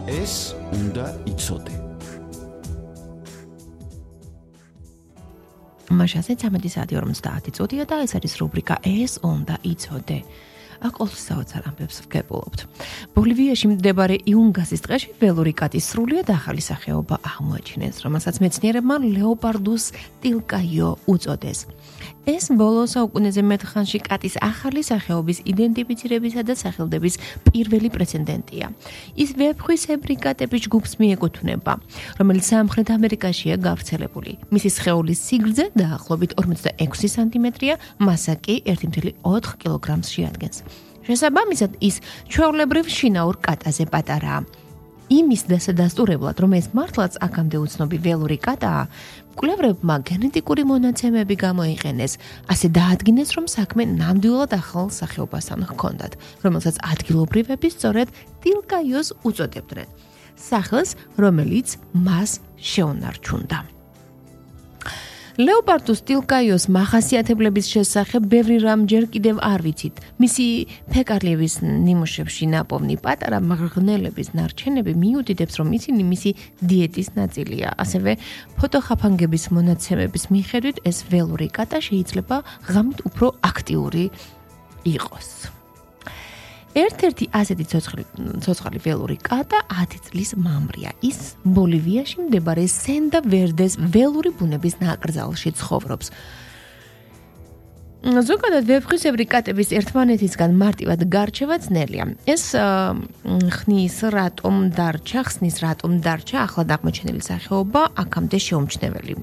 ეს უნდა იცოდე. მაშასე 13:50 წუთია და ეს არის რუბრიკა ეს უნდა იცოდე. აკოლს საოცარ ამბებს ვგებულობთ. ბოლივიაში მდებარე იუნგასის ტყეში ველური კატის სრულიად ახალი სახეობა აღმოაჩინეს, რომელსაც მეცნიერებმა ლეოპარდუს ტილკაიო უწოდეს. ეს ბოლო საუკუნეზე მეტ ხანში კატის ახალი სახეობის იდენტიფიცირებისა და სახელდების პირველი პრეცედენტია. ის ვეფხვისებრი კატების ჯგუფს მიეკუთვნება, რომელიც სამხრეთ ამერიკაშია გავრცელებული. მისი სხეულის სიგრძე დაახლოებით 46 სანტიმეტრია, მასა კი 1,4 კილოგრამს შეადგენს. შესაბამისად, ის ჩვეულებრივ შინაურ კატაზე პატარაა. იმის დასადასტურებლად, რომ ეს მართლაც აქამდე უცნობი ველური კატაა, მკვლევრებმა გენეტიკური მონაცემები გამოიყენეს, ასე დაადგინეს, რომ საქმე ნამდვილად ახალ სახეობასთან ჰქონდათ, რომელსაც ადგილობრივები სწორედ ტილკაიოს უწოდებდნენ. სახელს, რომელიც მას შეუნარჩუნდა. ლეოპარდუს ტილკაიოს მახასიათებლების შესახებ ბევრი რამ ჯერ კიდევ არ ვიცით. მისი ფეკარლების ნიმუშებში ნაპოვნი პატარა მღრღნელების ნარჩენები მიუთითებს, რომ ისინი მისი დიეტის ნაწილია. ასევე ფოტოხაფანგების მონაცემების მიხედვით ეს ველური კატა შეიძლება ღამით უფრო აქტიური იყოს. ერთ-ერთი ასეთი ცოცხალი ველური კატა 10 წლის მამრია. ის ბოლივიაში მდებარე სენდა-ვერდეს ველური ბუნების ნაკრძალში ცხოვრობს. ზოგადად ვეფხვისებრი კატების ერთმანეთისგან მარტივად გარჩევა ძნელია. ეს ხსნის რატომ დარჩა ახლად აღმოჩენილი სახეობა აქამდე შეუმჩნეველი.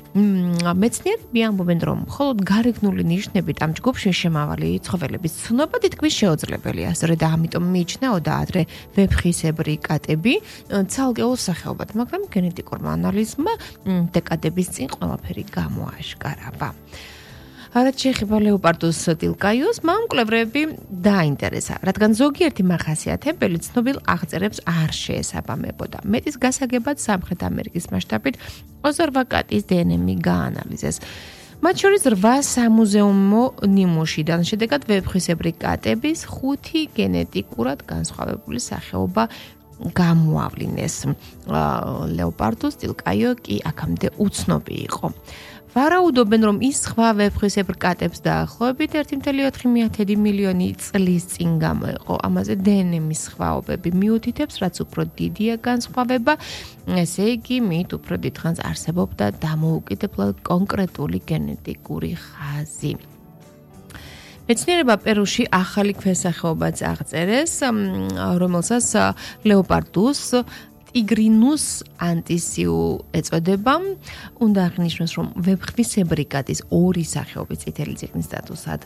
მეცნიერები ამბობენ, რომ მხოლოდ გარეგნული ნიშნებით ამ ჯგუფში შემავალი ცხოველების ცნობა თითქმის შეუძლებელია. სწორედ ამიტომ მიიჩნეოდა ადრე ვეფხვისებრი კატები ცალკეულ სახეობად, მაგრამ გენეტიკურმა ანალიზმა დეკადების წინ ყველაფერი გამოაშკარავა. რაც შეეხება ლეოპარდუს ტილკაიოს, მან მკვლევრები დააინტერესა, რადგან ზოგიერთი მახასიათებელი ცნობილ აღწერებს არ შეესაბამებოდა. მეტის გასაგებად სამხრეთ ამერიკის მასშტაბით 28 კატის დნმ გაანალიზეს. მათ შორის 8 სამუზეუმო ნიმუშიდან შედეგად ვეფხვისებრი კატების 5 გენეტიკურად განსხვავებული სახეობა გამოავლინეს. ლეოპარდუს ტილკაიო კი აქამდე უცნობი იყო. ვარაუდობენ, რომ ის სხვა ვეფხვისებრ კატებს დაახლოებით 1,4 მილიონი წლის წინ გამოიყო. ამაზე დნმ-ის სხვაობები მიუთითებს, რაც უფრო დიდია განსხვავება, ესე იგი, მით უფრო დიდხანს არსებობდა დამოუკიდებლად კონკრეტული გენეტიკური ხაზი. მეცნიერებმა პერუში ახალი ქვესახეობაც აღწერეს, რომელსაც ლეოპარდუს ტიგრინუს ანტისიუ ეწოდება. უნდა აღნიშნოს, რომ ვეფხვისებრი კატის 2 სახეობის წითელი წიგნის სტატუსად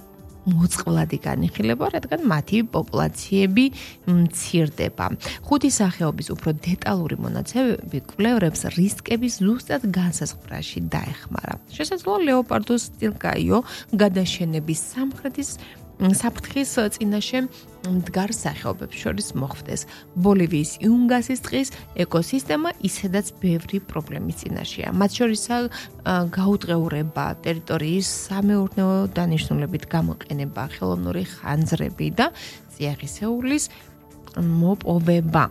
მოწყვლადი განიხილება, რადგან მათი პოპულაციები მცირდება. 5 სახეობის უფრო დეტალური მონაცემები კვლევრებს რისკების ზუსტად განსაზღვრაში დაეხმარა. შესაძლოა ლეოპარდუს ტილკაიო გადაშენების საფრთხის წინაშე მდგარ სახეობებს შორის მოხვდეს. ბოლივიის იუნგასის ტყის ეკოსისტემა ისედაც ბევრი პრობლემის წინაშეა. მათ შორისაა გაუტყეურება, ტერიტორიის სამეურნეო დანიშნულებით გამოყენება, ხელოვნური ხანძრები და წიაღისეულის მოპოვება.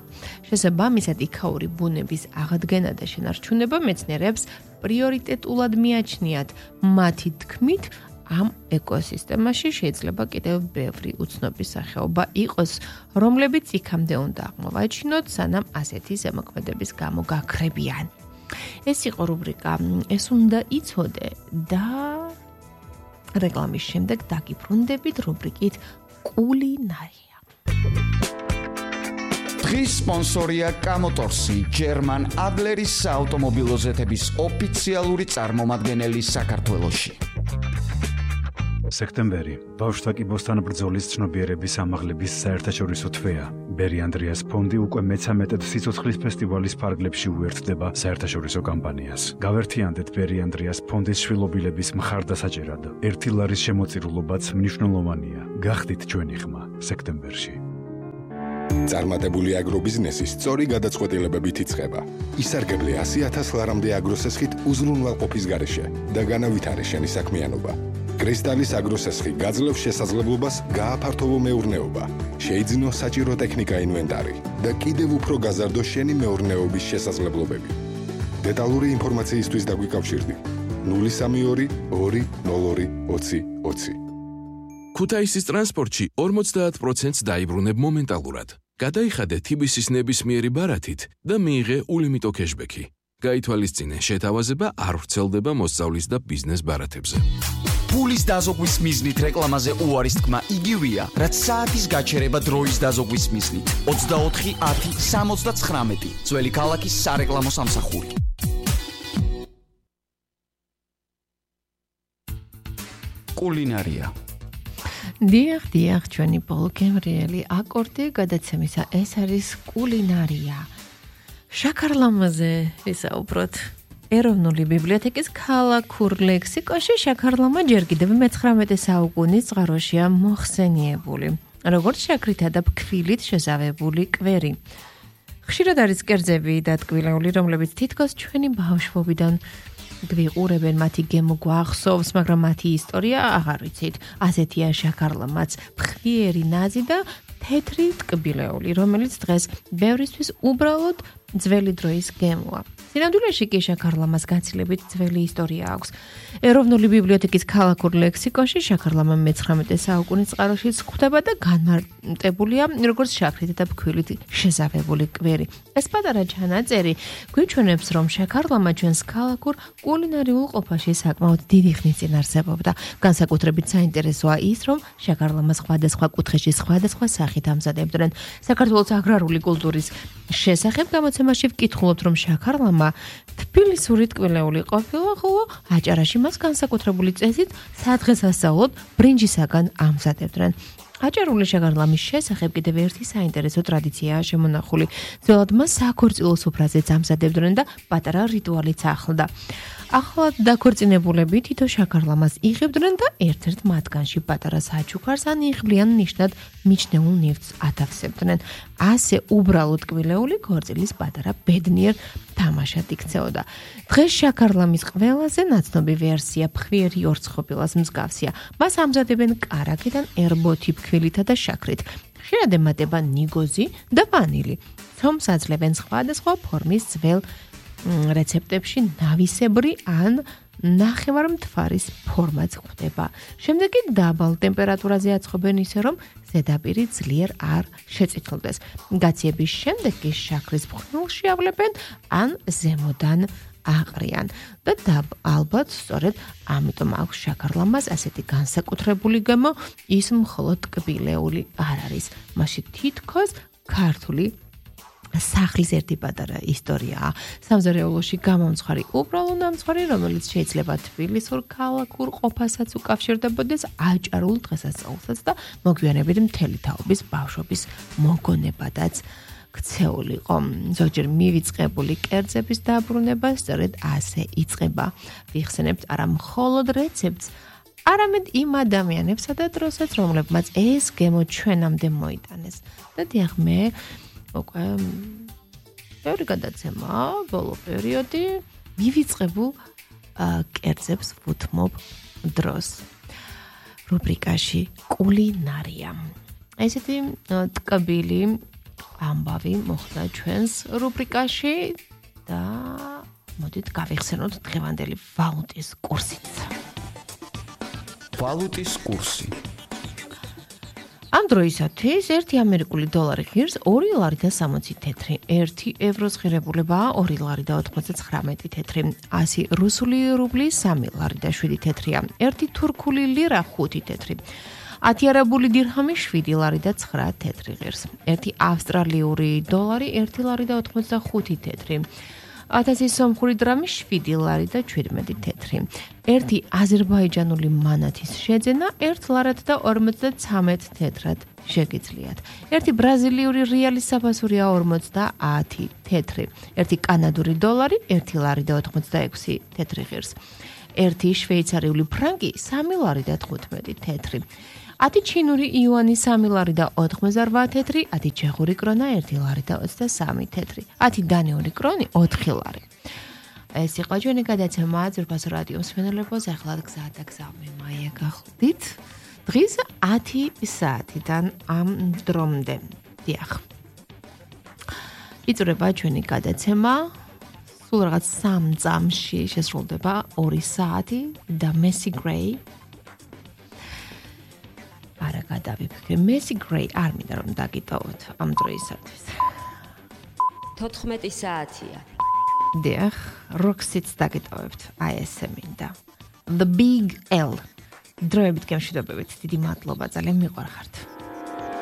შესაბამისად, იქაური ბუნების აღდგენა და შენარჩუნება მეცნიერებს პრიორიტეტულად მიაჩნიათ. მათი თქმით, ამ ეკოსისტემაში შეიძლება კიდევ ბევრი უცნობი სახეობა იყოს, რომლებიც იქამდე უნდა აღმოვაჩინოთ, სანამ ასეთი ზემოქმედების გამო გაქრებიან. ეს იყო რუბრიკა ეს უნდა იცოდე და რეკლამის შემდეგ დაგიბრუნდებით რუბრიკით კულინარია. დღის სპონსორია კამოტორსი, ჯერმან ადლერის საავტომობილო ზეთების ოფიციალური წარმომადგენელი საქართველოში. სექტემბერი ბავშვთა კიბოსთან ბრძოლის ცნობიერების ამაღლების საერთაშორისო თვეა. ბერი ანდრიას ფონდი უკვე მე-13 სიცოცხლის ფესტივალის ფარგლებში უერთდება საერთაშორისო კამპანიას. გავერთიანდეთ ბერი ანდრიას ფონდის შვილობილების მხარდასაჭერად. 1 ლარის შემოწირულობაც მნიშვნელოვანია. გახდით ჩვენი ხმა სექტემბერში. წარმატებული აგრობიზნესი სწორი გადაწყვეტილებებით იწყება. ისარგებლე 100,000 ლარამდე აგროსესხით უზრუნველყოფის გარეშე და განავითარე შენი საქმიანობა. კრისტალის აგროსესხი გაძლევს შესაძლებლობას გააფართოვო მეურნეობა, შეიძინო საჭირო ტექნიკა ინვენტარი და კიდევ უფრო გაზარდო შენი მეურნეობის შესაძლებლობები. დეტალური ინფორმაციისთვის დაგვიკავშირდი 032 202 20 20. ქუთაისის ტრანსპორტში 50%-ს დაიბრუნებ მომენტალურად. გადაიხადე TBC-ის ნებისმიერი ბარათით და მიიღე ულიმიტო кэშბექი. გაითვალისწინე, შეთავაზება არ ვრცელდება მოსწავლის და ბიზნეს ბარათებზე. ფულის დაზოგვის მიზნით რეკლამაზე უარის თქმა იგივეა, რაც საათის გაჩერება დროის დაზოგვის მიზნით. 24 10 79 ძველი ქალაქის სარეკლამო სამსახური. კულინარია. დიახ, ჩვენი პოლკემრიელი აკორდი გადაცემისა ეს არის კულინარია. შაქარლამაზე ვისაუბროთ. ეროვნული ბიბლიოთეკის ქალაქურ ლექსიკონში შაქარლამა ჯერ კიდევ მე-19 საუკუნის წყაროშია მოხსენიებული, როგორც შაქრითა და ფქვილით შეზავებული კვერი. ხშირად არის კერძები და ტკბილეული, რომლებიც თითქოს ჩვენი ბავშვობიდან გვიყურებენ, მათი გემო გვახსოვს, მაგრამ მათი ისტორია აღარ ვიცით. ასეთია შაქარლამაც, ფხვიერი ნაზი და თეთრი ტკბილეული, რომელიც დღეს ბევრისთვის უბრალოდ ძველი დროის გემოა. სინამდვილეში კი შაქარლამას გაცილებით ძველი ისტორია აქვს. ეროვნული ბიბლიოთეკის ქალაქურ ლექსიკონში შაქარლამა მე-19 საუკუნის წყაროშიც გვხვდება და განმარტებულია როგორც შაქრით და ფქვილით შეზავებული კვერი. ეს პატარა ჩანაწერი გვიჩვენებს, რომ შაქარლამა ჩვენს ქალაქურ კულინარიულ ყოფაში საკმაოდ დიდი ხნის წინ არსებობდა. განსაკუთრებით საინტერესოა ის, რომ შაქარლამას სხვადასხვა კუთხეში სხვადასხვა სახით ამზადებდნენ. საქართველოს აგრარული კულტურის შესახებ გამოცემაში ვკითხულობთ, რომ შაქარლამა თბილისური ტკბილეული ყოფილა, ხოლო აჭარაში მას განსაკუთრებული წესით სადღესასწაულოდ ბრინჯისაგან ამზადებდნენ. აჭარული შაქარლამის შესახებ კიდევ ერთი საინტერესო ტრადიციაა შემონახული. ძველად მას საქორწილო სუფრაზეც ამზადებდნენ და პატარა რიტუალიც ახლდა. ახლად დაქორწინებულები თითო შაქარლამას იღებდნენ და ერთ-ერთ მათგანში პატარა საჩუქარს ან იღბლიან ნიშნად მიჩნეულ ნივთს ათავსებდნენ. ასე უბრალოდ ტკბილეული ქორწილის პატარა ბედნიერ თამაშად იქცეოდა. დღეს შაქარლამის ყველაზე ნაცნობი ვერსია ფხვიერი ორცხობილას მსგავსია. მას ამზადებენ კარაქიდან ერბოთი ფქვილითა და შაქრით. ხშირად ემატება ნიგოზი და ვანილი. ცომს აძლევენ სხვადასხვა ფორმის ძველ რეცეპტებში ნავისებრი ან ნახევარმთვარის ფორმაც გვხვდება. შემდეგ კი დაბალ ტემპერატურაზე აწყობენ ისე, რომ ზედაპირი ძლიერ არ შეწითლდეს. გაციების შემდეგ კი შაქრის ფხვნილში ავლებენ ან ზემოდან აყრიან და ალბათ სწორედ ამიტომ აქვს შაქარლამას ასეთი განსაკუთრებული გემო, ის მხოლოდ ტკბილეული არ არის. მასში თითქოს ქართული სახლის ერთი პატარა ისტორიაა. სამზარეულოში გამომცხარი უბრალო ნამცხვარი, რომელიც შეიძლება თბილისურ ქალაქურ ყოფასაც უკავშირდებოდეს აჭარულ დღესასწაულსაც და მოგვიანებით მთელი თაობის ბავშვობის მოგონებადაც ქცეულიყო. ზოგჯერ მივიწყებული კერძების დაბრუნება სწორედ ასე იწყება. ვიხსენებთ არა მხოლოდ რეცეპტს, არამედ იმ ადამიანებსა და დროსაც, რომლებმაც ეს გემო ჩვენამდე მოიტანეს. და დიახ, მე უკვე ბევრი გადაცემა, ბოლო პერიოდი მივიწყებულ კერძებს ვუთმობ დროს. რუბრიკაში კულინარია. ესეთი ტკბილი ამბავი მოხდა ჩვენს რუბრიკაში და მოდით გავიხსენოთ დღევანდელი ვალუტის კურსიც. ვალუტის კურსი. ამ დროისათვის 1 ამერიკული დოლარი ღირს 2 ლარი და 60 თეთრი, 1 ევროს ღირებულებაა 2 ლარი და 99 თეთრი, 100 რუსული რუბლი 3 ლარი და 7 თეთრია, 1 თურქული ლირა 5 თეთრი, 10 არაბული დირჰამი 7 ლარი და 9 თეთრი ღირს, 1 ავსტრალიური დოლარი 1 ლარი და 85 თეთრი, 1000 სომხური დრამი 7 ლარი და 17 თეთრი, 1 აზერბაიჯანული მანათის შეძენა 1 ლარად და 53 თეთრად შეგიძლიათ. 1 ბრაზილიური რეალის საფასურია 50 თეთრი, 1 კანადური დოლარი 1 ლარი და 86 თეთრი ღირს, 1 შვეიცარიული ფრანკი 3 ლარი და 15 თეთრი, 10 ჩინური იუანი 3 ლარი და 88 თეთრი, 10 ჩეხური კრონა 1 ლარი და 23 თეთრი, 10 დანიური კრონი 4 ლარი. ეს იყო ჩვენი გადაცემა ძვირფასო რადიო მსმენელებო, ახლა გზა და გზავმე მაია გახლდით. დღის 10 საათიდან ამ დრომდე. დიახ. იწურება ჩვენი გადაცემა. სულ რაღაც 3 წამში შესრულდება 2 საათი და Macy Gray. არა გადავიფიქრე, Macy Gray არ მინდა რომ დაგიტოვოთ ამ დროისათვის. 14 საათია. დიახ, Roxy-ც დაგიტოვებთ, აი ესე მინდა. The Big L. დროებით გემშვიდობებით, დიდი მადლობა, ძალიან მიყვარხართ.